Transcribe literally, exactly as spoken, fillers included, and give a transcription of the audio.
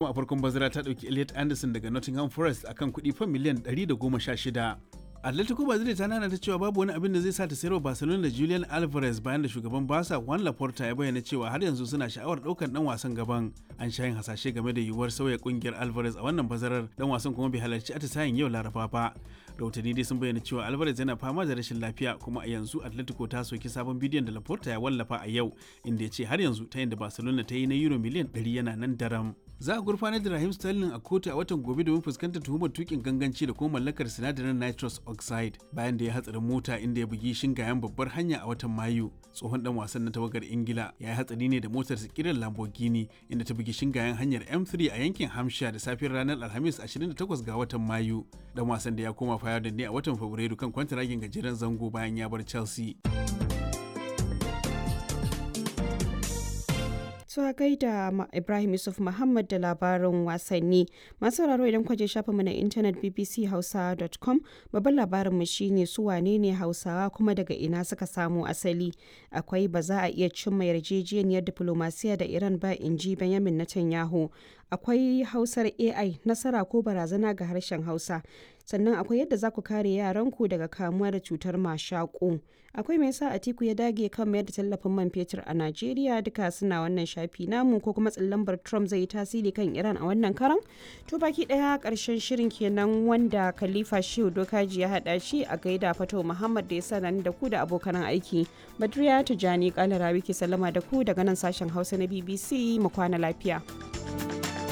Kuma a farkon bazara ta ɗauki Elliot Anderson daga Nottingham Forest akan kuɗi fam miliyan ɗari da goma sha shida. Atletico Madrid ta nana ta cewa babu wani abin da zai sa ta sayarwa Barcelona da Julian Alvarez, bayan da shugaban Barca Juan Laporta ya bayyana cewa har yanzu suna sha'awar ɗaukar dan wasan gaban. An sha yin hasashe game da yiwuwar sauya kungiyar Alvarez a wannan bazarar, dan wasan kuma bai halarci atisayen yau Laraba ba. Rahotanni dai sun bayyana cewa Alvarez yana fama da rashin lafiya, kuma a yanzu Atletico ta soki sabon bidiyon da Laporta ya wallafa a yau, inda ya ce har yanzu ta yin da Barcelona ta yi na euro miliyan ɗari yana nan daram. Za a gurfanar da Raheem Sterling a kotu a watan gobe domin fuskantar tuhumar tukin ganganci da kuma mallakar sinadarin nitrous oxide, bayan da ya hatsarin mota inda ya bugi shingayen babbar hanya a watan Mayu. Tsohon dan wasan na tawagar Ingila ya yi hatsari ne da motar kiran Lamborghini, inda ta bugi shingayen hanyar M three a yankin Hampshire da safiyar ranar Alhamis ashirin da takwas ga watan Mayu. Dan wasan da ya koma Feyenoord ne a watan Fabrairu kan kwantaragin gajeren zango bayan ya bar Chelsea. To a gaida Ibrahim Yusuf Muhammad da labarin wasanni. Masu sauraro, idan kwaje shafinmu na intanet B B C hausa dot com, babban labarinmu shine su wane ne Hausawa kuma daga ina suka samo asali. Akwai ba za a iya cimma yarjejeniyar diplomasiya da Iran ba, in ji Benjamin Netanyahu. Akwai Hausar A I, nasara ko barazana ga harshen Hausa. Sannan akwai yadda za ku kare yaranku daga kamuwa da cutar mashaƙo. Akwai me yasa Atiku ya dage kan mayar da tallafin man fetur a Najeriya. Duka suna wannan shafi namu, ko kuma lambar Trump zai yi tasiri kan Iran a wannan karan. To, baki daya karshen shirin kenan, wanda Khalifa Shehu Dokaji ya hada shi. A gaida Fato Muhammad da ya sanar da ku da abokan aiki. Badriya Tijani Kalarawi ke sallama da ku daga nan sashen Hausa na B B C. Mu kwana lafiya.